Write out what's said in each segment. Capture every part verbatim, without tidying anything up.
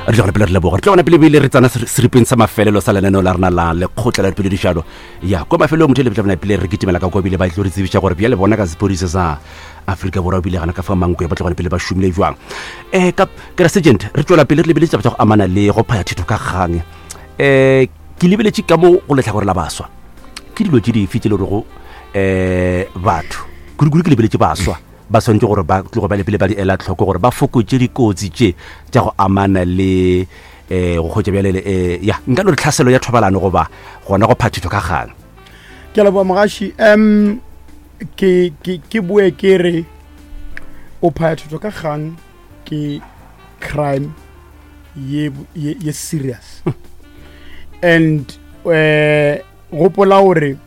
Re tlo pele re leboga. Re tlo bona pele bile re tsana seripeng sa mafelelo sa lenaneo la rena la lekgotla la dipoledišano. Ya, kwa mafelong motho le tla pele re kitimela ka kwa bile ba tlo re tsebiša gore bjale bona ka sepodisa sa Afrika Borwa bile gana ka fa Mankwe ba tlo gona pele ba šomile jwang. Eh ka ke sergeant re tswela pele re lebeletse taba tša go amana le go phaya thetho ka kgang. Eh ke lebeletše ka mo go lehlakore la baswa. Ke dilo tše dife tše le rego eh batho kudu-kudu ke lebeletše baswa ba swanetše gore ba tloge ba lepele ba di ela tlhoko gore ba fokotše dikotsi tše tša go amana le um go kgotša bjale um ya nka no re tlhaselo ya thobalano goba gona go phathetho ka kgang. Ke a leboga mogaši. Um ke ke ke boe ke re o phaya thotho ka kgang ke crime ye ye, ye serious and eh gopola gore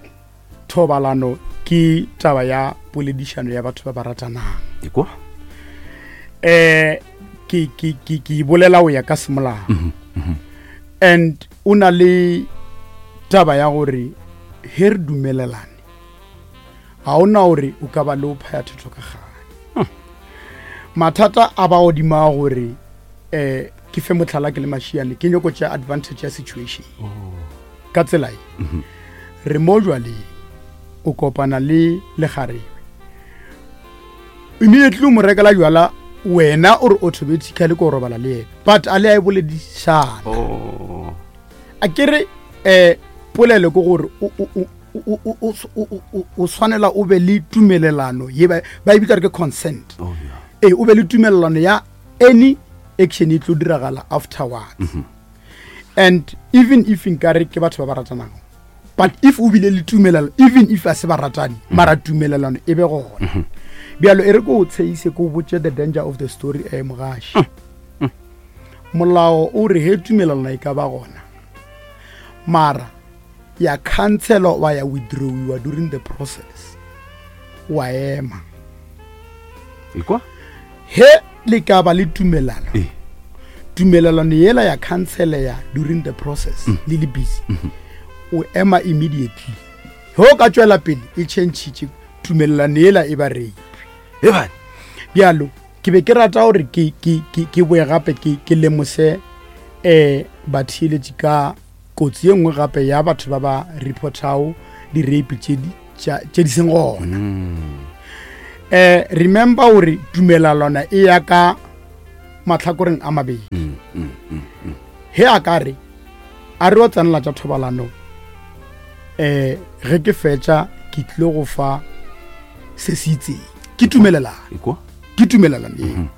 thobalano ke taba ya poledišano ya batho ba ba ratanang. Ekwa eh ke ke ke ke bolela o ya ka semolao. And o na le taba ya gore he re dumelelane ga ona gore o ka ba le o phaya thetho ka kgang. Mathata a ba godimo a gore eh ke fe motlhala ke le mašiane ke nyako tšea advantage ya situation. Ka tsela e re mo jwaleng o kopana le lekgarebe, immediately o mo rekela jwala, wena o re automatically ko robala le yena, but a le a e boledišana. Oh. A ke re um polelo ke gore o- o- o- o- o- o- o- o- o tshwanela o be le tumelelano ye ba ba e bitsa re ke consent. Oh, yeah. Ee, o be le tumelelano ya any action e tlo diragala afterwards. And even if nkare ke batho ba ba ratanago, but if o bile le tumelelano, even if a se ba ratane, mara tumelelano e be gona. Bjalo e re ko o tsheise, ko o botse the danger of the story. E mogaši, molao o re he tumelelano e ka ba gona, mara ya cancelwa wa ya withdrawiwa during the process, wa ema. Ekwa He le ka ba le tumelano, Ee. tumelelano yela ya canceleya during the process, le le busy, o ema immediately. He o ka tswela pele e changitše tumelelano yela, e ba rape. E bane. Bjalo ke be ke rata gore ke ke ke ke boe gape ke ke lemose eh batheeletši ka kotsi ye nngwe gape ya batho ba ba reportago di-rape tše di tša- tše di seng gona. eh remember gore tumelelano e ya ka matlhakoreng a mabedi. He a ka re a re o tsenela tša thobalano, eh ge ke fetša ke tlile go fa se se itseng, ke tumelelano. Ekwa Ke tumelelano eo,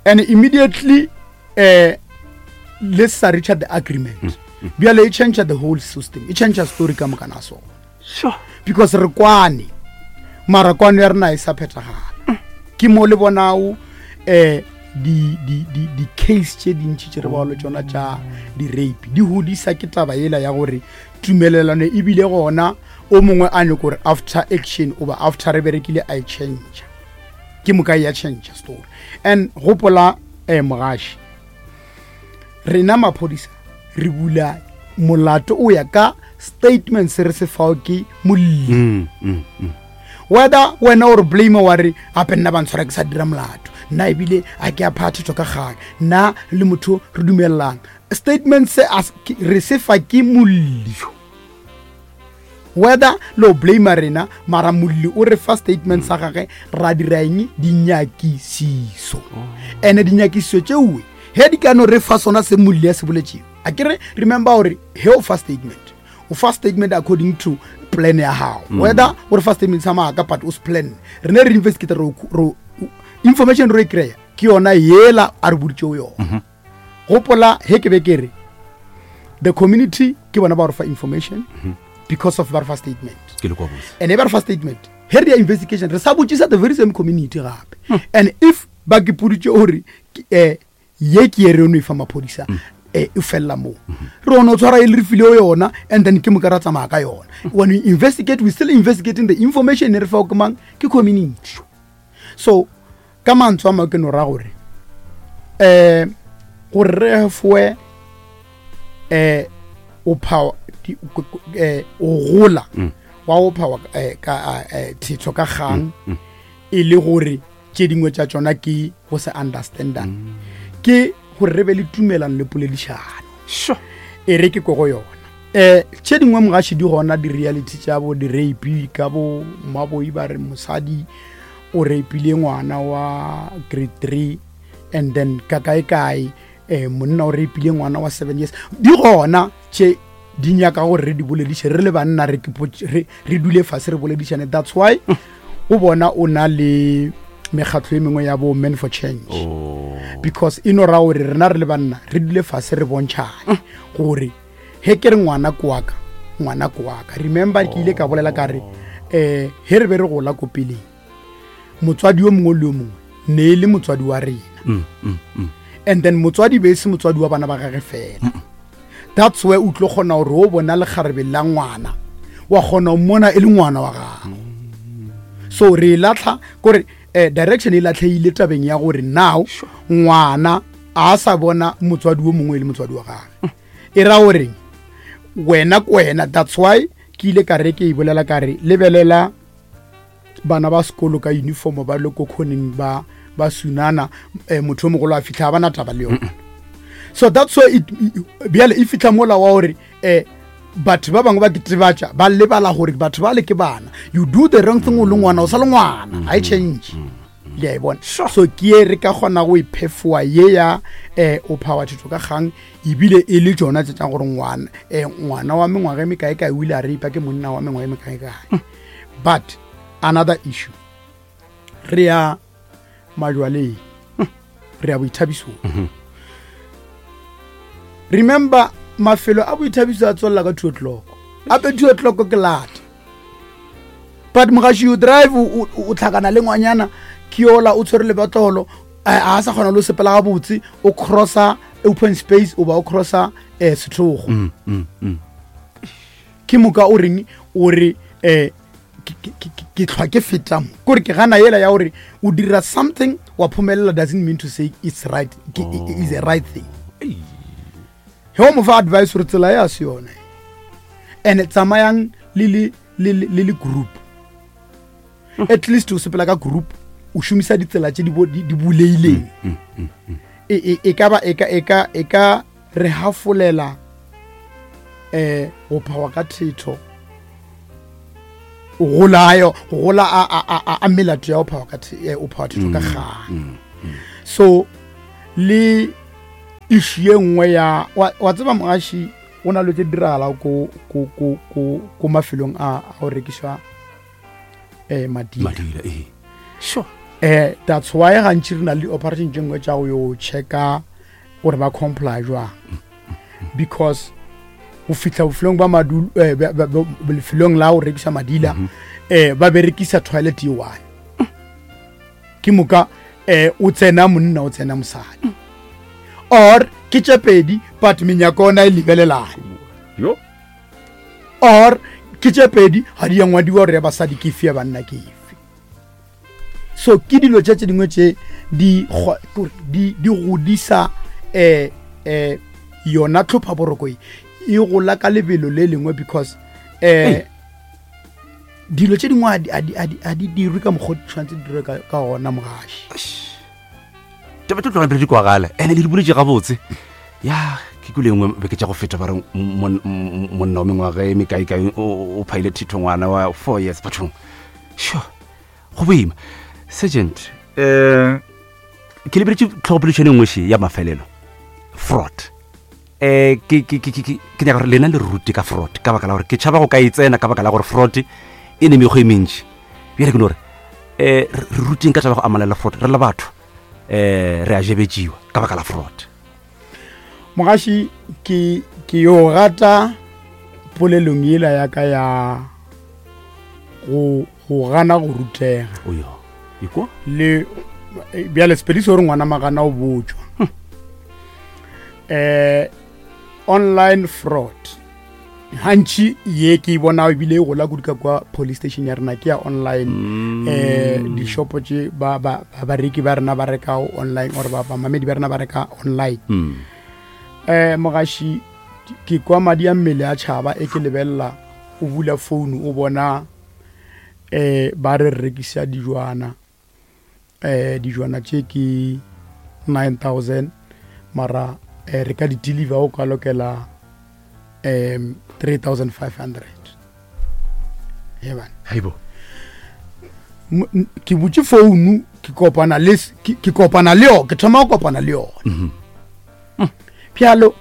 and immediately eh le sa reach the agreement, bjale e change the whole system, e change story ka mokana sona. Sure. Because re kwane, mara kwano ya rena e sa phethagala. Ke mo le bonao eh di di di di case tše dintši tše re bao le tšona tša di-rape di hodisa ke taba yela ya gore tumelelano ebile gona, o mongwe a nyako gore after action oba after re berekile a e change, ke moka e ya change story. And gopola um mogaši, rena maphodisa re bula molato o ya ka statement se re se fao ke molli. Mm, mm, mm. Whether wena o re blame wa re gape nna ba ntshwara ke sa dira molato, nna ebile a ke a phathetšwa ka kgang, nna le motho re dumelelana, statement se a se- ke- re se fa ke molli. Whether le o blame rena, mara molli o re fa statement sa gage, ra dira eng? Dinyakišiso. And dinyakišiso tšeoe he di ka no re fa sona se molli a se boletšego. A ke re remember gore he o fa statement, o fa statement according to plan ya gago. Whether o re fa statement sa maaka, but o se plan, re ne re investigate, re re- information re e kry-a ke yona yela a re boditšego yona. Gopola he ke be ke re the community ke bona ba re fa information because of ba re fa statement. Ke le kwa botse. And e ba re fa statement, he re ya investigation, re sa botšisa the very same community gape. And if ba ke poditše gore um ye ke ye re ono e fa maphodisa, eh, e felela moo, re ono tshwara e le re file yona, and then ke moka ra tsamaya ka yona. When we investigate, we still investigating the information e re fao ke mang? Ke community. So ka mantswe a mangwe ke no ra gore um gore re foe um o phawa di- ko- ko- eh, o gola wa go phawa eh, ka eh, thetho ka kgang, e le gore tše dingwe tša tšona ke go se understandang, ke gore re be le tumelano le poledišano. Sure. E re ke ko go yona. Um tše dingwe mogaši di gona di-reality tša bo di-rape ka bo mmaboi ba re mosadi o rapile ngwana wa grade three and then ka kae kae um monna o rapile ngwana wa seven years. Di gona tše di nyaka gore re di bolediše re le banna, re re re dule fase re boledišane. That's why o bona o na le mekgatlo e mengwe ya bo Men for Change. Oh. Because e no ra gore rena re le banna re dule fase re bontšhane gore he ke re ngwana ko wa ka, ngwana ko wa ka. Remember ke ile ka bolela ka re um he re be re gola ko peleng, motswadi yo mongwe le yo mongwe ne e le motswadi wa rena. Mm, mm, mm. And then motswadi be e se motswadi wa bana ba gage fela. That's where o tlo kgona gore o bona lekgarebe la ngwana wa kgona go mmona e le ngwana wa gago. So re e latlha kore um direction e latlheile tabeng ya gore now ngwana a sa bona motswadi wo mongwe e le motswadi wa gage. E ra goreng wena ko wena. That's why ke ile ka re ke e bolela ka re lebelela bana ba sekolo ka uniform ba le ko khoneng ba ba sunana, eh, motho o mogolo a fitlha ba na taba le yona. So that's why bjale e fitlha mola wa gore um batho ba bangwe ba ketebatša ba lebala gore batho ba le ke bana. You do the wrong thing o le ngwana, o sa le ngwana, ga e change. Le a e bona. So ke e re ka kgona go iphefoa ye ya um o phawa thetho ka kgang, ebile e le tšona tse tša gore ngwana um ngwana wa mengwaga e mekaekae o ile a reipa ke monna wa mengwaga e mekaekae. But another issue, re ya majwaleng, re ya boithabisong. Remember mafelo a boithabiso a tswelela ka two o'clock, ape two o'clock ke lata. But mogaši you drive o o tlhakana le ngwanyana ke yola o tshwere lebatlolo, a sa kgona le o sepela gabotse, o crossa open space o ba o crossa um sethogo. Mm, mm, mm. Ke moka o reng o re um ke tlhwa ke feta mo kore ke gana yela ya gore o dira something wa phomelela doesn't mean to say it's right, ke is a right thing. He o mo fa advice gore tsela ya se yone, and tsamayang le le le le le group. At least o sepela ka group, o šomisa ditsela tše di di buleileng. E e ka ba e ka e ka e ka re hafolela eh go phawa ka thetho, gola gola a a a melato ya go phawa ka o phawa thetho ka kgang. So le issue ye nngwe ya wa tseba mogaši o na le tse diragala ko ko ko ko ko mafelong a a go rekišwa eh madila. Madila eh. Sure. Eh that's why gantši re na le operation tše nngwe tša go yo checka gore ba comply jwang, because go fihla bofelong ba madulo eh, lefelong la go rekisa madila eh ba berekisa toilet ye one. Ke moka eh o tsena monna o tsena mosadi or ke tše pedi, but menyako ona e lebelelane. Yo. Or ke tše pedi ga di ya ngwadiwa gore ya basadi ke efe ya banna ke efe. So ke dilo tše tše dingwe tše di di di godisa eh eh yona tlhopha boroko e e gola ka lebelo le lengwe, because eh dilo tše dingwe a di dirwe ka mokgwa o di tshwanetse di dirwe ka gona mogaši. Taba tlo tloga pele di kwagala ene le di boletse gabotse. Ya ke kule nngwe beke tša go feta ba re monna wa mengwaga e mekaekae o phaile thitho ngwana wa four years bathong. Sure, go boima. Sergeant, um ke lebeletse tlhogopoledišano e nngwe še ya mafelelo, fraud. Um ke ke ke ke ke nyaka gore lena le rute ka fraud, ka baka la gore ke tšhaba go ka e tsena, ka baka la gore fraud e ne mekgwa e mentši. Bjale ke no gore um re ruteng ka taba go amana le fraud, re le batho um re a jebetšiwa ka baka la fraud. Mogaši ke ke yo rata polelong yela ya ka ya go go gana go rutega. Oyo ikwa le bjale sepedi se gore ngwana magana o botšwa. Eh online fraud gantši ye ke e bona ebile e gola kudu ka kwa police station ya rena ke ya online. Eh dishopo tše ba ba bareki ba rena ba reka online or ba bamamedi ba rena ba reka online. Eh mogaši ke kwa madi a mmele a tšhaba e ke lebelela o bula phone o bona eh ba re rekisa dijwana, eh dijwana tše ke nine thousand, Mara eh, re ka di deliver o ka lokela um three thousand five hundred. Hebane. Haibo. Mo- n- ke butše founu, ke kopana le s- ke ke kopana le yona, ke thoma go kopana le yona. Bjalo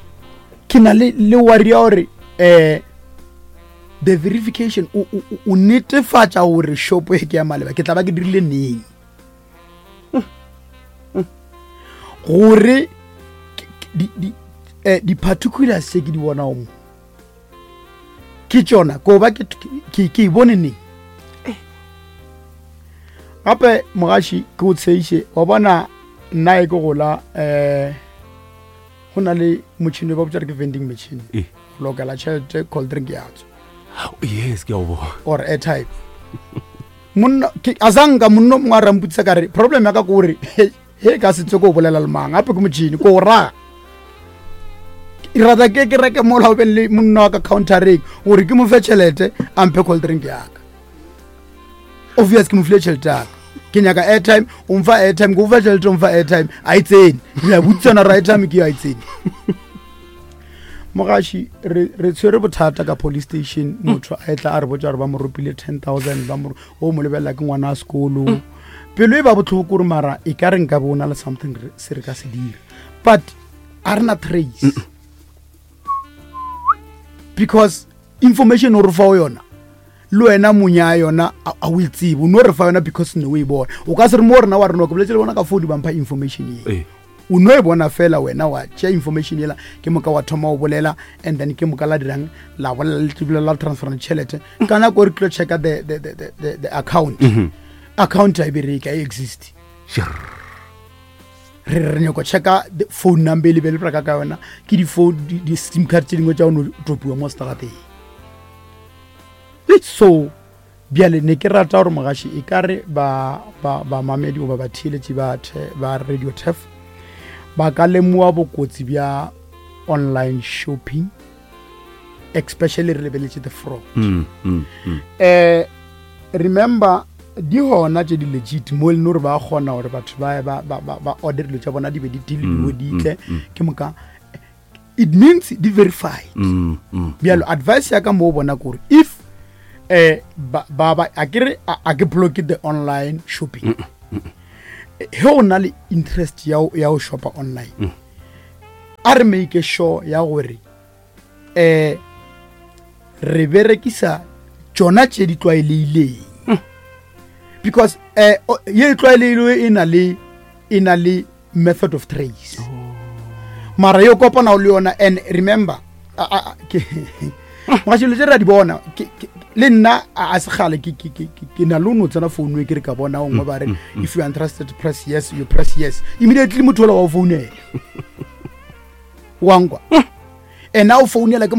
ke na le le worry ya gore um the verification, o o- o- o netefatša gore shopo e ke ya maleba, ke tla ba ke dirile neng gore ke- ke- di- di- eh, di-particulars tse ke di bonago mo ke tšona, ko ba ke ke ke e bone neng. Gape mogaši ke o tsheiše, wa bona nna e ke gola, um go na le motšhini ba botsa re ke vending machine, Eh. go lokela tšhelete, cold drink ya tswa. Yes, ke a o bona. Or airtime. Monna ke azanka monna o mongwe a rampotsa ka re problem ya ka ke gore he ka se tse ko bolela le mang, gape ke motšhini ko o raga. Ke rata ke ke reke mola o beng le monna wa ka countereng gore ke mo fe tšhelete a mphe cold drink yaka. Obvious ke mo file tšhelete yaka, ke nyaka airtime, o mfa airtime, ke o fa tšhelete, o mfa airtime, a e tsene, re a botsana ra airtime ke yo a e tsene. Mogaši, re re tshwere bothata ka police station, motho a etla a re botsa gore ba mo ropile ten thousand, ba mo o mo lebelela ke ngwana wa sekolo. Pelo e ba botlhoko gore mara e ka re nka bo o na le something re- se re ka se dira, but a re na trace because information o re fa o yona le wena monya yona a a o e tsebe, o no re fa yona because ne o e bona. O ka se re mo rena wa rena ke boletse le bona ka phone, ba mpha information ye, Eh. o no e bona fela wena wa tšea information yela, ke moka wa thoma o bolela, and then ke moka la dirang, la bolela le tibile la transferang tšhelete. Ka nako re tlo checka the, the, the, the, the, the account, account a e bereke, a e exist. Sure. Re re nyako checka the phone number e lebele reka ka yona, ke di-phone di- di-sim card tse dingwe tša go no topiwa mo seterateng. So bjale ne ke rata gore mogaši e ka re ba ba bamamedi goba batheeletši ba the- ba Radio Turf ba ka lemoa bokotsi bja online shopping, especially re lebeletše the fraud. Mm, mm, mm. eh remember di gona tše di legit mo e leng gore ba kgona gore batho ba ba ba ba, ba order dilo tša bona di be di deliwe di tle, ke moka it means di verified. Mm, mm. Bjalo advice ya ka mo o bona kore if eh ba ba ba- a ke re a a ke block the online shopping, he o na le interest ya ho- ya go shopa online, a re make sure ya gore eh re berekisa tšona tše di tlwaeleileng, because eh o- ye e tlwaeleilwe e na le e na le method of trace, mara yo kopana le yona. And remember, a- a- a- ke mogašelo tše re a di bona, ke- ke- le nna a a se kgale ke- ke ke- ke- ke na le o no tsena founu e ke re ka bona o nngwe ba re if you are interested, press yes, you press yes, immediately motho ola wa o founela, wa nkwa, and a o founela ke mo.